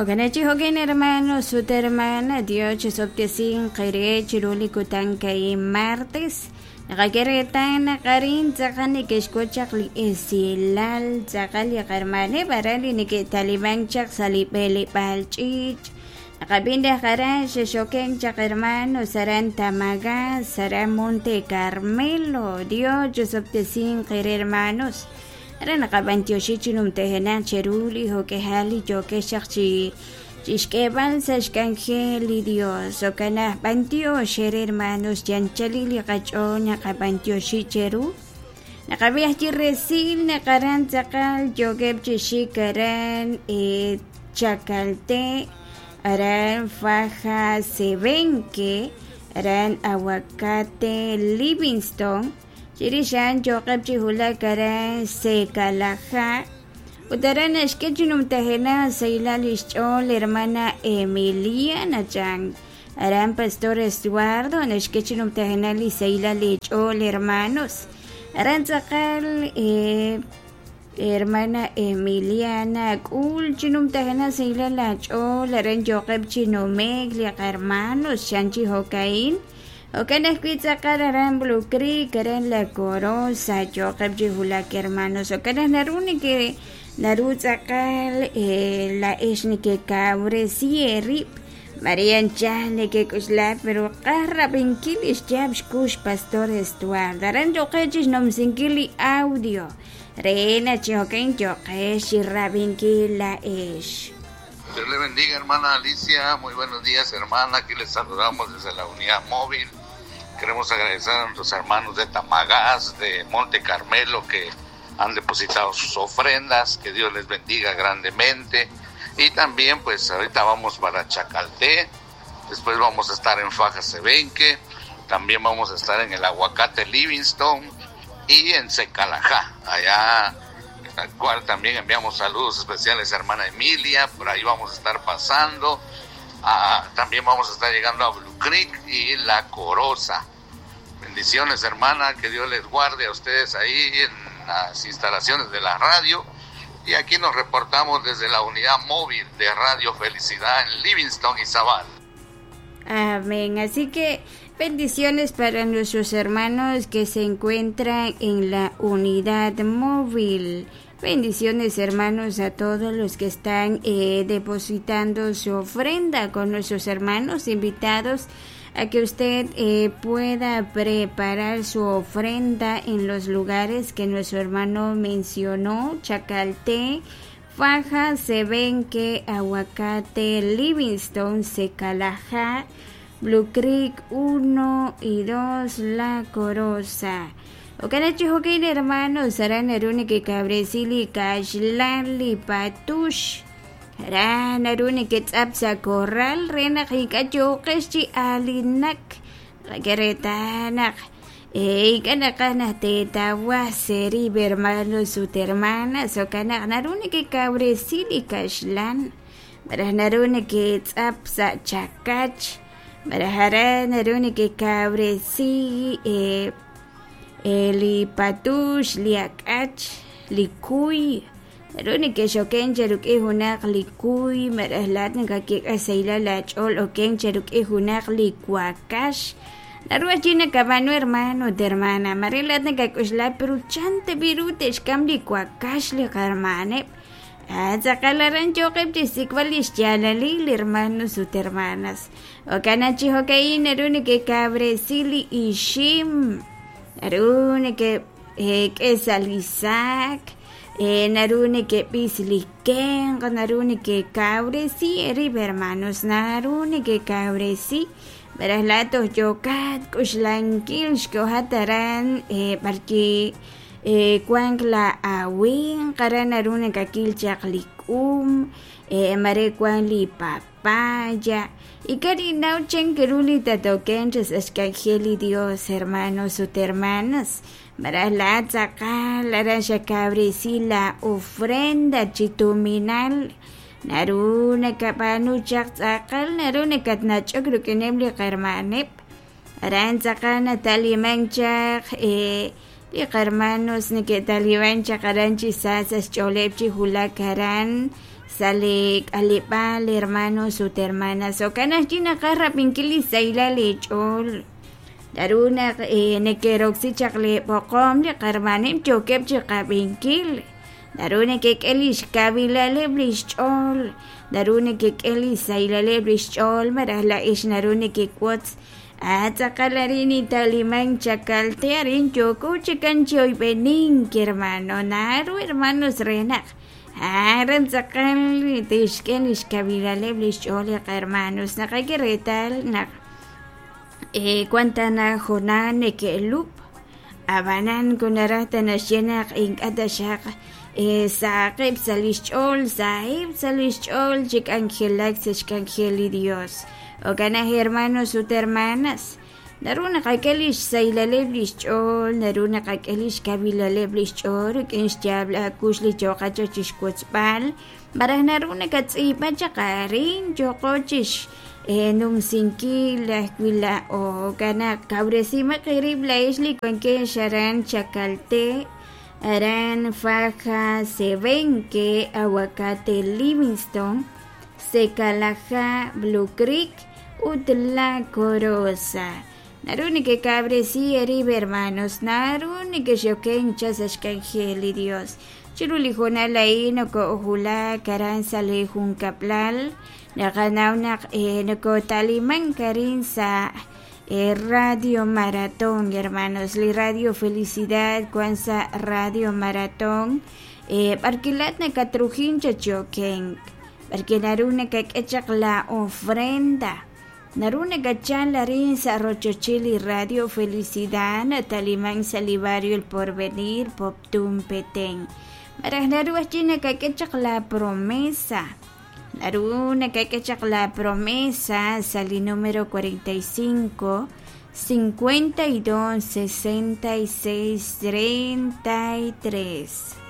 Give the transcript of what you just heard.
Jo'kan chi jo'kan hermanos ut hermana, Dios chisob'tesinq eere chiru li kutan ka'in martes. Naqak'e reetal naq arin tz'aqal neke'xk'ut chaq li esilal tz'aqal li qarmaneb' aran li neke'talimank chaq sa' li b'eleb'aal ch'iich'. Naqab'i naq aran xexokenk chaq hermanos aran Tamagás, aran Monte Carmelo. Dios chisob'tesinq eere hermanos. Aran naqab'antioxi chi numtajenaq cheru li jo'k'ejal li yookex chaq chi chixk'eeb'al sa' xk'anjel li Dios. Jo'kan naq b'antiox eere hermanos, yanchalil li qach'ool naqab'antioxi cheru. Naqab'i ajwi' resil naq aran tz'aqal yookeb' chi xik aran Chacalté, aran Faja Sebenque, aran Aguacate Livingston. Chirix a'an yooqeb' chi wulak aran Secalajá ut aran naxk'e chi numtajenaq xsahilal li xch'ool hermana Emiliana chan. Aran Pastor Estuardo naxk'e chi numtajenaq li xsahilal li ch'ool hermanos. Aran tz'aqal hermana Emiliana k'ul chi numtajenaq xsahilal laach'ool aran yooqeb' chi nume'k li qahermanos chan chi jo'ka'in. Jo'kan ajwi' tz'aqal aran Blue Creek, aran La Corosa, yooqeb' chi wulak hermanos. Jo'kan naq naru neke naru tz'aqal laa'ex nekekawresi eerib'. Maare anchal nekek'oxla pero qaj rab'inkil li xyaab' xkux Pastor Estuardo. Aran yooqeb' chixnumsinkil li audio re naq chi jo'kan yooqex chirab'inkil laa'ex. Dios le bendiga, hermana Alicia. Muy buenos días, hermana. Aquí les saludamos desde la unidad móvil. Queremos agradecer a nuestros hermanos de Tamagás, de Monte Carmelo, que han depositado sus ofrendas. Que Dios les bendiga grandemente. Y también, pues, ahorita vamos para Chacalté. Después vamos a estar en Faja Sebenque. También vamos a estar en el Aguacate Livingston y en Secalajá, allá al cual también enviamos saludos especiales a hermana Emilia, por ahí vamos a estar pasando. Ah, también vamos a estar llegando a Blue Creek y La Corosa. Bendiciones, hermana, que Dios les guarde a ustedes ahí en las instalaciones de la radio. Y aquí nos reportamos desde la unidad móvil de Radio Felicidad en Livingston, Izabal. Amén. Así que bendiciones para nuestros hermanos que se encuentran en la unidad móvil. Bendiciones hermanos a todos los que están depositando su ofrenda con nuestros hermanos invitados a que usted pueda preparar su ofrenda en los lugares que nuestro hermano mencionó, Chacalté, Faja, Sebenque, Aguacate, Livingston, Secalajá, Blue Creek 1 y 2, La Corosa. Jo'kan chi jo'kan hermanos, aran naru nekekawresi li kaxlan li patux. Aran naru neketz'ap sa' korral re naq ink'a' yooqex chi aalinak. Qak'e reetal naq ink'a' naqaj naq teetawaj seerib' hermanos ut hermanas. Jo'kan naq naru nekekawresi li kaxlan. Malaj naru neketz'ap sa' chakach. Malaj aran naru nekekawresi li patux, li ak'ach, li kuy. Naru nekexoken cheruk'in junaq li kuy, malaj laa'at nakak'e xsahilal laach'ool oken cheruk'in junaq li wakax. Naru ajwi' nakab'aanu hermano ut hermana, mare laa'at nakak'oxla pero chan tab'i' ru te'xk'am li wakax li qarmaneb'. Tz'aqal aran yooqeb' chixsik'b'al li xyaalalil hermanos ut hermanas. Jo'kan naq chi jo'ka'in naru nekekawresi li ixim. Naru nekek'e sa' li saak, naru nekeb'is li kenq, naru nekekawresi eerib' hermanos, naru nekekawresi. Malaj laa'at toj yookat k'uxlankil xkohat aran b'arki wank la awinq, aran naru nakakil chaq li k'um, mare wank li papaya. Ink'a' ninnaw chan ru li tatokenq sa' xk'anjel li Dios, hermanos ut hermanas. Malaj laa'at tz'aqal aran xakawresi la ofrenda chi tuminal. Naru nakab'aanu chaq tz'aqal, naru nakatnach'ok rik'ineb' li qarmaneb'. Aran tz'aqal natalimank chaq li qarmanos neke'taliman chaq aran chi sa sa' xch'ooleb' chi wulak aran sa' li k'aleb'aal hermanos ut hermanas. Jo'kan ajwi' naqaj rab'inkil li sahilal eech'ool. Naru naq neke'roksi chaq li b'oqom li qarmaneb' yookeb' chiqab'inkil. Naru nekek'e lix kawilaleb' lix ch'ool, naru nekek'e li sahilaleb' lix ch'ool, malaj laa'ex naru nekewotz tz'aqal arin italiman Chacalté arin yooko chikan chi oyb'enink hermano, naru hermanos re naq aran tz'aqal tixk'e lix kawilaleb' lix ch'ool li qarmanos. Naqak'e reetal naq wan tana jonal neke'lub', ab'anan kunaraj ta naxye naq ink'a' taxaq saqeb' sa' lix ch'ool, saheb' sa' lix ch'ool chi k'anjelak sa' xk'anjel li Dios. Jo'kan aj hermanos ut hermanas, naru naqak'e lix sahilaleb' lix ch'ool, naru naqak'e lix kawilaleb' lix ch'ool rik'in xyaab' akux li yooqat chaq chixwotzb'al, malaj naru nakatz'iib'a chaq arin yooqo chix numsinkil ajwi' laa'o. Jo'kan naq kawresimaq eerib' laa'ex li wankex aran Chacalté, aran Faja, Sebenque, Aguacate, Livingston, Secalajá, Blue Creek ut La Corosa. Naru nekekawresi eerib' hermanos, naru nekexoken chaq sa' xk'anjel li Dios. Chiru li hoonal a'in nokoo'ujulak aran sa' li junkab'lal, naqanaw naq nokotalimank arin sa' Radio Maratón, hermanos, li Radio Felicidad wan sa' Radio Maratón, b'arkilat nakatrujin chachokenk, b'arki naru nakak'e chaq la ofrenda, naru nakachal arin sa' rochochil li Radio Felicidad nataliman sa' li barrio El Porvenir, Poptún, Petén. Malaj naru ajwi' nakak'e chaq la promesa, naru nakak'e chaq la promesa sa' li número 45 52 66 33.